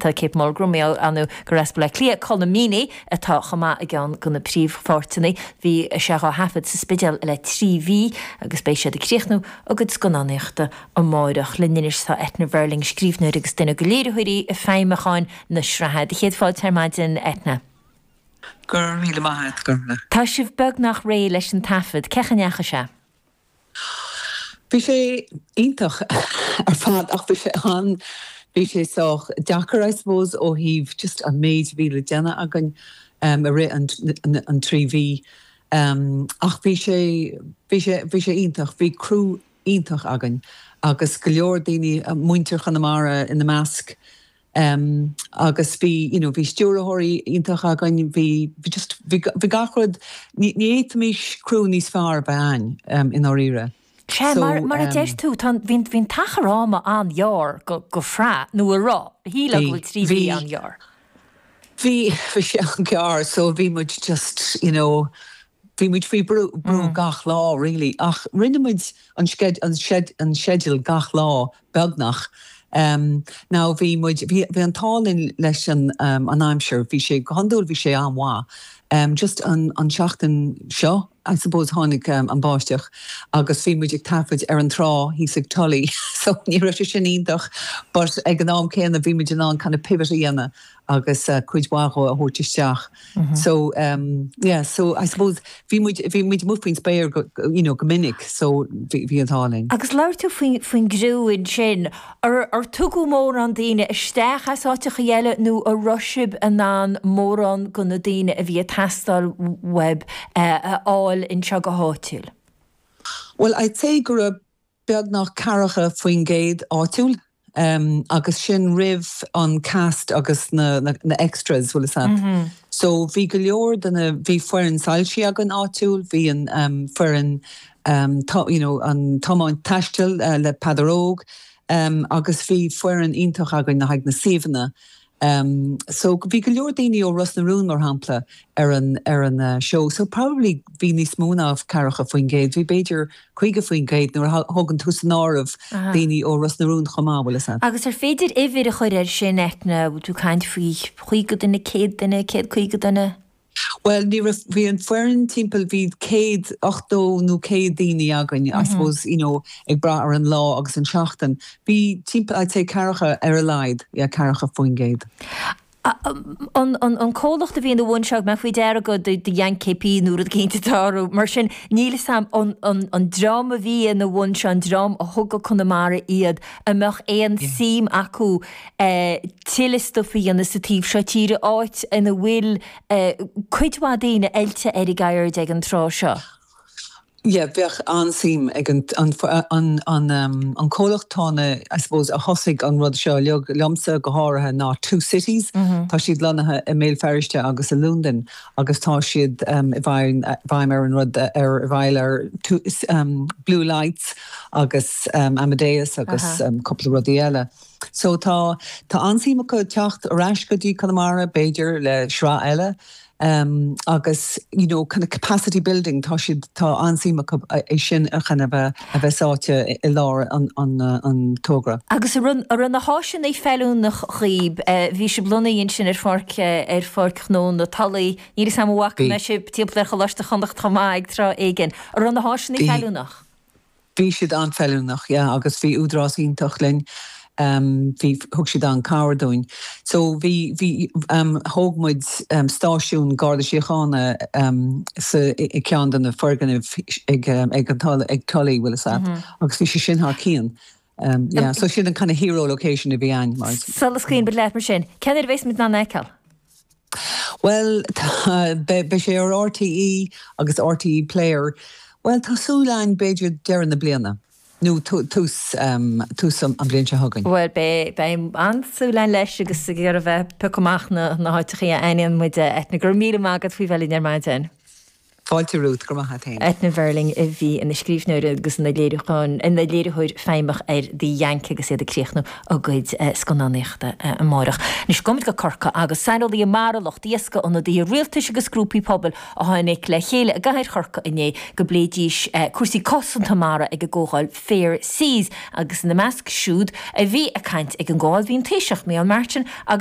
aitheanta, Kate Mulgrew, mar gheall gur as Baile Átha Cliath, Colm Meaney atá chomh maith i gceann de na príomhpháirteanna. Bhí sé dhá thaifead sa Spidéal le 3 mhí agus beidh siad ag críochnú a gcuid scannánaíochta amárach. Linn anois tá Eithne Verling, scríbhneoir agus duine de léiritheoirí feidhmiúcháin na sraithe. Do chéad fáilte ar maidin, Eithne. Go raibh míle maith agat, Gormfhlaith. Tá sibh beagnach réidh leis an taifead. Cén chaoi a ndeachaigh sé? Bhí sé iontach ar fad ach bhí sé an, bhí sé sách deacair I suppose ó thaobh just an méid a bhí le déanamh againn i rith an 3 mhí. Ach bhí sé, bhí sé, bhí sé iontach. Bhí criú iontach againn agus go leor daoine, muintir Chonamara ina measc. Agus bhí, you know, bhí stiúrthóirí iontach againn, bhí, bhí just, bhí, bhí gach rud, ní, ní fhéadfaimis criú níos fearr a bheith a'ainn, i ndáiríre. Sea, So, mar, mar a deir tú, tá an, bhí an, bhí an t-achar ama an-ghearr go, go shraith, nó a raibh, shílfeá go bhfuil 3 mhí an-ghearr. Bhí, bhí sé an-ghearr, so bhí muid just, you know, bhí muid faoi brú, brú gach lá really, ach rinne muid an sced, an sced, an sceideal gach lá beagnach. Now bhí muid, bhí, bhí an t-ádh linn leis an, an aimsir, bhí sé, go hiondúil bhí sé an-mhaith. Just an, an tseachtain seo, I suppose, tháinig an báisteach agus bhí muid ag taifead ar an trá thíos ag Tully so ní raibh sé sin iontach but ag an am céanna bhí muid in ann kind of pivot a dhéanamh agus cuid mhaith dhó a thabhairt isteach. So yeah, so I suppose bhí muid, bhí muid amuigh faoin spéir go, you know, go minic so bhí, bhí an t-ádh linn. Agus labhair tú faoin, faoin gcriú ansin, ar, ar tugadh mórán daoine isteach as áiteachaí eile nó an raibh sibh in ann mórán de na daoine a bhí ag teastáil uaibh a fháil anseo go háitiúil? Well I'd say go raibh beagnach 40% áitiúil agus sin roimh an cast agus na extras, bhfuil fhios a't. So bhí go leor de na, bhí foireann soilsí againn áitiúil, bhí an foireann you know an tiomáint taistil le Peadar Óg agus bhí foireann iontach againn le haghaidh na suíomhanna So bhí go leor daoine ó Ros na Rún, mar shampla, ar an ar an seó. So probably bhí níos mó ná 40%, bhí b'fhéidir 50% nuair a thógann tú san áireamh daoine ó Ros na Rún chomh maith, bhfuil fhios a't. Agus ar féidir uimhir a chur air sin, Eithne, bhfuil tú ag caint faoi 50 duine, 100 duine, 150 duine? Bhuel, ní raibh, bhí an foireann timpeall, bhí 100, 80 nó 100 daoine againn, I suppose, you know, ag brath ar an lá agus an seachtain. Bhí timpeall, I'd say ceathracha ar a laghad, yeah, 40%. An, an, an comhlacht a bhí ina bhun seo, mé faoi deara go The Yank KP nó rud éicint atá orthu, mar sin, níl fhios a'm, an, an, an dream a bhí ina bhun seo, an dream a thug go Conamara iad, an mbeadh aon suim acu tuilleadh stuif a dhéanamh sa taobh seo tíre, áit ina bhfuil cuid mhaith daoine oilte ar a gceird ag an tráth seo. Yeah, bheadh an-suim ag an an an an comhlacht tá na, I suppose, a thosaigh an rud seo uilig, liomsa go háirithe, ná Two Cities. Tá siad lonnaithe i mBéal Feirste agus i Londain agus tá siad i bhfeidhm bhfeidhm ar an rud ar i bhfeighil ar Blue Lights agus Amadeus agus cúpla rudaí eile. So tá tá an-suim acu teacht ar ais go dtí Conamara, b'fhéidir le sraith eile agus you know kind of capacity building tá siad tá an-suim acu é sin a kind of a bheith sáite i lár an an an togra. Agus an raibh an raibh na háiseanna feiliúnach dhaoib, bhí sibh lonnaithe ansin ar pháirc ar pháirc ghnó na Tulaí, níl fhios a'm an bhfaca mé sibh timpeall ar Choláiste Chonnacht chomh maith ag tráth éigin. An raibh na háiseanna feiliúnach? Bhí siad an-fheiliúnach, yeah, agus bhí Údarás iontach linn, bhí, thug siad an-cabhair dúinn. So bhí, bhí, thóg muid stáisiún Garda Síochána sa, i gceann de na foirgnimh ag, ag an Tulaigh, ag Tully, bhfuil fhios a't, agus bhí sé sin thar cionn. Yeah, so sin an kind of hero location a bhí a'inn, mar. Sula scaoileann muid leat mar sin, cén uair a bheas muid in ann é a fheiceáil? Bhuel, beidh sé ar RTÉ agus RTÉ Player, bhuel, tá súil a'inn b'fhéidir deireadh na bliana, nó tús, tús an bhliain seo chugainn. Bhuel, beidh, beidh an-súil a'inn leis agus ag iarraidh a bheith ag piocadh amach na, na háiteachaí a aithníonn muid, Eithne. Go raibh míle maith agat faoi bheith linn ar maidin. Fáilte Ruth, go raibh maith a't fhéin. Eithne Verling a bhí ina scríbhneoir agus ina léiriúchán, ina léiritheoir feidhmeach ar The Yank agus iad ag críochnú a gcuid scannánaíochta amárach. Anois gabhfaimid go Corcaigh agus saineolaithe mara, lucht iascaigh, ionadaithe rialtais agus grúpaí pobail a tháinig le chéile i gcathair Chorcaí inné go bpléidís cúrsaí cosanta mara ag an gcomhdháil Fair Seas agus ina measc siúd a bhí ag caint ag an gcomhdháil bhí an Taoiseach Micheál Martin agus.